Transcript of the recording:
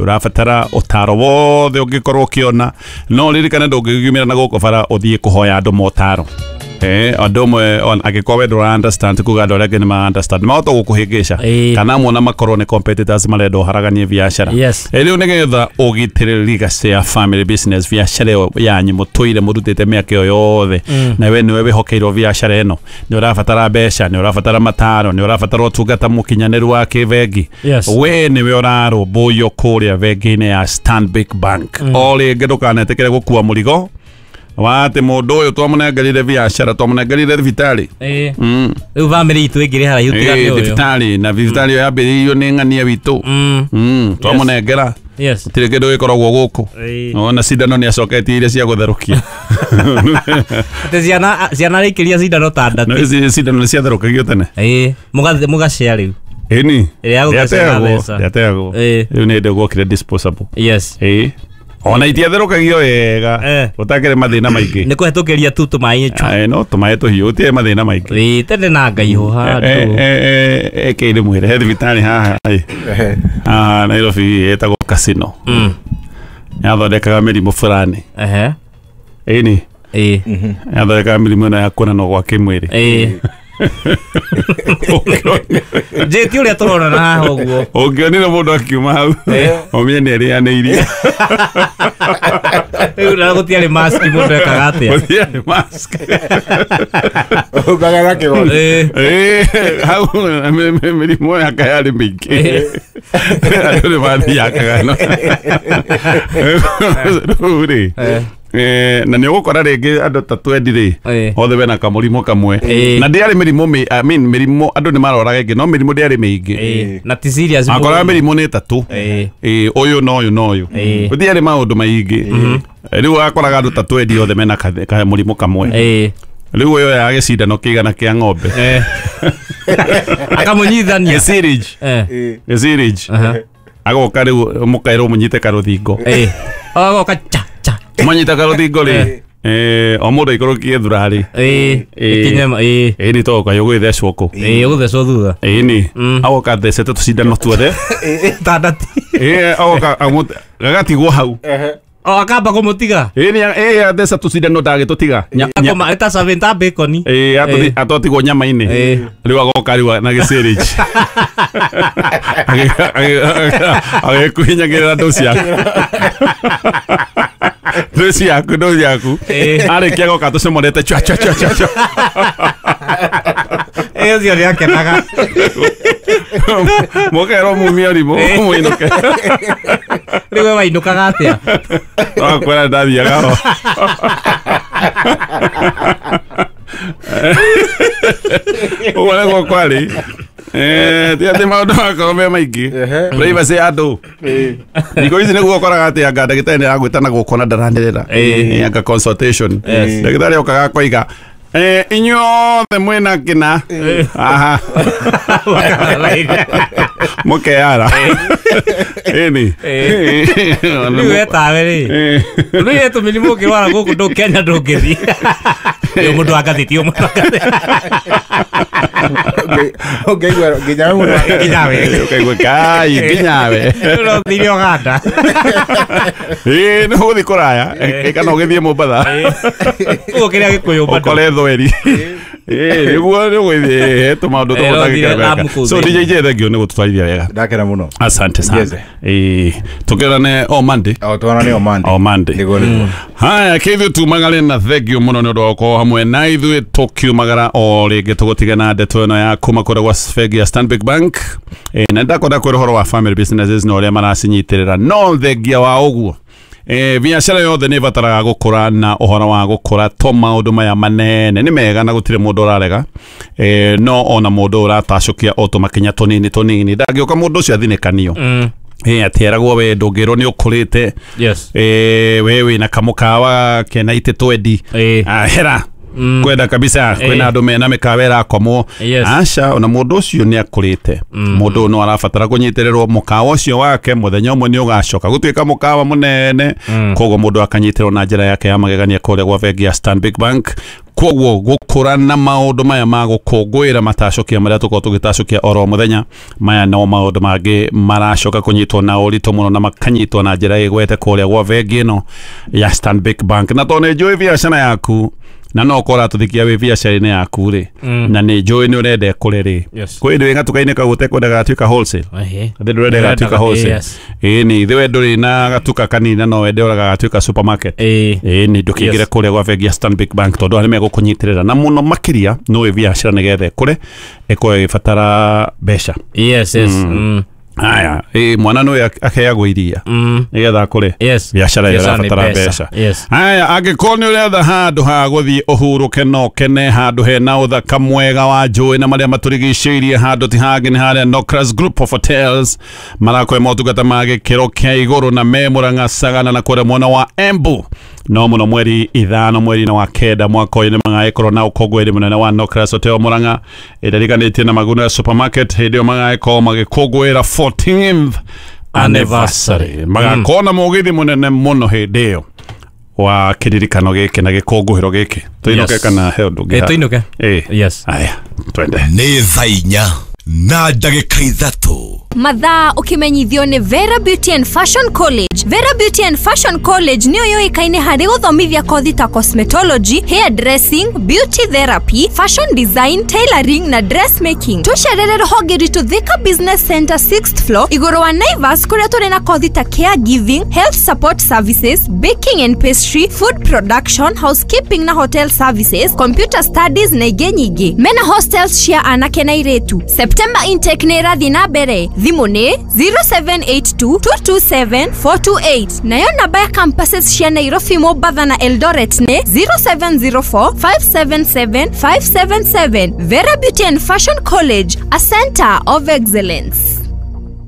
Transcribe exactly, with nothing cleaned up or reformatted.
Ũrabatara ũtaro wothe ũngĩkorwo ũkĩona, no ririkane ndũngĩgiumĩra na gũkũ bara ũthiĩ kũhoya andũ motaro. Eh, andũ amwe angĩkorwo we ndũra understand kuga andũ arĩa angĩ nĩ ma understand mahota gũkũhĩngĩca kana mona makorwo nĩ competitors marenda ũharaganie biacara. Yes. Rĩu nĩgetha ũgitĩre legacy ya family business, biacara ĩyo yanyu mũtũire mũrutĩte mĩaka ĩyo yothe, na we nĩwe wĩhokeirwo biacara ĩno, nĩ ũrabatara mbeca, nĩ ũrabatara mataro, nĩ ũrabatara ũtungata mũkinyanĩru wa kĩbengi. Yes. We nĩwe ũrarũmbũiyo kũrĩa bengi-inĩ ya Stanbic Bank. O rĩngĩ ndũkanetĩkĩre gũkua mũrigo wa atĩ mũndũ ũyũ twamũnengerire biacara, twamũnengerire thibitarĩ. Ĩĩ. Mm. Rĩu bamĩrĩ itũ ĩngĩrĩ haraihu tiga nĩ Ĩĩ, ũyũ. thibitarĩ na thibitarĩ ĩyo yambĩrĩirio nĩ ng'ania witũ. Mm. Mm, twamũnengera. Yes. Gũtirĩ kĩndũ gĩkoragwo gũkũ. Ĩĩ. Ona cindano nĩ acoketie iria cia gũtherũkia. Atĩ ciana ciana rĩikĩria cindano ta No ndatĩ. ici cindano nĩ ciatherũkagio tene. Ĩĩ. Mũga mũgacare rĩu. Ĩni. Ĩrĩa ya gũgacare Ndĩateagwo, mbeca. ndĩateagwo. Ĩĩ. Rĩu nĩ hĩndĩ gwokire disposable. Yes. Ĩĩ. Ona itiatherũkagio wega. Eh. Gũtakĩrĩ mathĩna maingĩ. Nĩ kũhetũkĩria tu tũmaĩ chwa. Ae, no tũmaĩ tũhiũ gũtirĩ mathĩna maingĩ. Ĩĩ, tene na ngaiho handũ. Ĩkĩrĩ mwĩre he thibitarĩ haha ĩ. Haha Nairobi ĩtagwo Casino. Mm. Yathondekaga mĩrimũ fulani. Ehe. Ĩni. Ĩĩ. Yathondekaga mĩrimũ ĩno ya kuonanwo gwa kĩmwĩrĩ. Ĩĩ. Njĩti ũrĩa tũronana haha ũguo. Ũngĩonire mũndũ akiuma hau ũmenye nĩ arĩanĩirie. Rĩu na gũtiarĩ mask mũndũ ekaga atĩa? Gũtiarĩ mask. Ũkaga na kĩgoti. Ĩĩ. Ĩĩ, hau mĩ- mĩ- mĩrimũ yaka yarĩ mĩingĩ. Andũ nĩ mathiangaga no. Rĩu rĩ, Eh. eh, na nĩ ũgũkora rĩngĩ andũ ta twendi rĩ, Ĩĩ. othe mena kamũrimũ kamwe. Ĩĩ. Na ndĩarĩ mĩrimũ mĩ- I mean, mĩrimũ andũ nĩ maroraga ĩngĩ no mĩrimũ ndĩarĩ mĩingĩ. Ĩĩ. Na ti serious Akoraga mũno. mĩrimũ nĩ ĩtatũ. Ĩĩ. Ĩĩ, ũyũ na ũyũ na ũyũ. Ĩĩ. Gũtiarĩ maũndũ maingĩ. Rĩu wakoraga andũ ta twendi othe mena ka- ka- mũrimũ kamwe. Ĩĩ. Rĩu ũyũ oyaga gĩcindano kĩigana kĩa ng'ombe. Eh. Akamũnyithania. Gĩcirĩnji. Eh. Ĩĩ. Gĩcirĩnji. Aha. Agoka rĩu mũkaĩrwo mũnyite karũthingo. Ĩĩ. Agoka cha cha. Mwanyita karũthingo rĩ, eh, o mũndũ aikũrũkie thurarĩ. Ĩĩ. Ĩĩ. Ĩkinye ma- ĩĩ. Ĩĩ nĩ toka yũgũgĩthecwo kũ. Ĩĩ, ũgũthecwo thutha. Ĩĩ nĩ. Mm. Agoka athecete tũcindano tuothe. Tandati. Ĩĩ agoka amũ- gagatigwo hau. Ehe. O akamba kũmũtiga. Ĩĩ nĩ ĩĩ atheca tũcindano ndagĩtũtiga. Nya- nya- Akoma ta seven ta bacon. Ĩĩ atũthi- atwatigwo nyama-inĩ. Ĩĩ. Rĩu agoka rĩu na gĩcĩrĩnji. Agĩkuhinyagĩrĩra ndũ ciaku. Ndũ ciaku, ndũ ciaku. Ĩĩ. Arĩkia agoka tũcomorete chwa chwa chwa chwa chwa. Ĩĩ ũcio nĩ akenaga. Mũkerwo mumie ũrimũ mũinũke. Rĩu we wainũkaga atĩa? Wakwĩra ndathiaga ho. Ũguo nĩguo kwarĩ. Eh, ti atĩ maũndũ makorwo me maingĩ. Ehe. Privacy ya andũ. Ĩĩ. Thikũ ici nĩguo ũkoraga atĩ anga ndagĩtarĩ nĩ aragwĩta na gũkũ na ndaranĩrĩra. Ĩĩ. Ĩ, anga consultation. Yes. Ndagĩtarĩ okaga akoiga eh, inyuothe mwĩna kĩna. Aha. Mũkeara. Ĩni. Rĩu we tawe rĩ. Ĩĩ. Rĩu ye tũmĩrimũ ũngĩrwara gũkũ ndũ Kenya ndũngĩthiĩ. Ũyũ mũndũ wa ngathĩti, ũyũ mũndũ wa ngathĩti. Ũngĩ- Ũngĩigua nginya we mũndũ wa- Nginya we. Ũkaigua kai nginya we. Rĩu no ũthire Ũganda. Ĩĩ nĩ ũgũthiĩ kũraya ĩ, kana ũgĩthiĩ Mombatha Ũguo kĩrĩa gĩkũyũ bado. ũkore thweri. Ĩĩ nĩguo nĩ ũgũthiĩ tũmaũndũ Ĩĩ, no ũthire Lamu tũgũtangĩkĩra kũu So thĩinĩ. D J J thank you nĩ gũtũtwarithia wega. Ndakena mũno. Asante sana. Yes. Ĩĩ tũkĩrane o Monday. O tuonane o Monday. O Monday. Nĩguo nĩguo. Haya kĩithuĩ tumagare na thank you mũno nĩ ũndũ wa gũkorwo hamwe na ithuĩ tũkiumagara o rĩngĩ tũgũtige na ndeto ĩno ya kuma kũrĩa gwa bengi ya Stanbic Bank. Ĩ, na nĩndakwenda kwĩra ũhoro wa family businesses na ũrĩa maracinyitĩrĩra no thengia wa ũguo Eh, biacara yothe nĩ ĩbataraga gũkũra na ũhoro wa gũkũra to maũndũ maya manene nĩ mega na gũtirĩ mũndũ ũrarega eh, no ona mũndũ ũratacũkia o tũmakinya tũnini tũnini ndangĩũka mũndũ ũcio athinĩkanio. Mm. Eh, atĩ eragwo we ndũngĩrwo nĩ ũkũrĩte. Yes. Eh, we wĩna kamũkawa kena itĩ twendi. Ĩĩ. Ah, hera Mm. kwenda kabisa kwĩna andũ mena mĩkawa ĩrakomwo. Yes. Aca ona mũndũ ũcio nĩ akũrĩte mũndũ ũyũ no arabatara kũnyitĩrĩrwo mũkawa ũcio wake mũthenya ũmwe nĩ ũgacoka gũtuĩka mũkawa mũnene koguo mũndũ akanyitĩrwo na njĩra yake ya magegania kũrĩa gwa bengi ya Stanbic Bank. Koguo gukura na maundu maya ma gukungwira matacokia maria tukorwo tugitacokia oro muthenya maya no maundu mangi maracoka kunyitwo na urito muno na makanyitwo na njira igwete kuria gwa bengi ino ya Stanbic Bank. Na to ni njui biacara yaku na no kora tuthikia wi biacara-inĩ yaku ri na nĩ njũĩ nĩ ũrenda ĩkũre rĩ kwĩ ndĩ gatuka-inĩ kau ũtekwendaga gatuĩka wholesale thĩ ndũrenda gatuĩka wholesale ĩĩ nĩ ithe we ndũrĩ na gatuka kanini no wende ũraga gatuĩka supermarket ĩĩ nĩ ndũkĩingĩre kũrĩa gwa bengi ya Stanbic Bank tondũ arĩa megũkũnyitĩrĩra na mũno makĩria nĩ biacara nĩgetha ĩkũre ĩkorwo ĩgĩbatara mbeca. Yes, yes. Mm. Aya, eh mwana no aheagwo iria nigetha akure biacara ĩyo ĩrabatara mbeca. Aya, angĩkorwo nĩ ũretha handũ ha gũthiĩ ũhurũke na ũkene, handũ hena ũthaka mwega wa njũĩ na marĩa matũrigicĩirie, handũ ti hangĩ nĩ harĩa Nocras Group of Hotels marakũhe motungata ma gĩkĩro kĩa igũrũ na me Murang'a Sagana na kũrĩa mwena wa Embu. No mũno mweri ithano mweri-inĩ wa kenda mwaka ũyũ nĩ magagĩkorwo na ũkũngũĩri mũnene wa Nocras Hotel Murang'a ĩririkanĩtie na Maguna Supermarket. Hĩndĩ ĩyo magagĩkorwo magĩkũngũĩra fourteenth anniversary. Magakorwo na mũgithi mũnene mũno hĩndĩ ĩyo wa kĩririkano gĩkĩ na gĩkũngũĩro gĩkĩ. Tũinũke kana he ũndũ ũngĩ? Tũinũke. Yes. Aya, twende. Nĩ thaa inya na ndagĩka ithatũ. Mathaa ukimenyithio nĩ Vera Beauty and Fashion College. Vera Beauty and Fashion College nĩyo yũĩkaine harĩ gũthomithia kothi ta cosmetology, hair dressing, beauty therapy, fashion design, tailoring na dressmaking. Tũcerere rũhonge rwitũ Thika Business Center sixth floor igũrũ wa Naivas kũrĩa tũrĩ na kothi ta caregiving, health support services, baking and pastry, food production, housekeeping na hotel services, computer studies na ingĩ nyingĩ. Mena hostels cia anake na airĩtu. September intake nĩ ĩrathiĩ na mbere. Thimũ nĩ zero seven eight two, two two seven, four two eight. Nayo namba ya campuses cia Nairobi, Mombasa na Eldoret nĩ zero seven zero four, five seven seven, five seven seven. Vera Beauty and Fashion College, a center of excellence.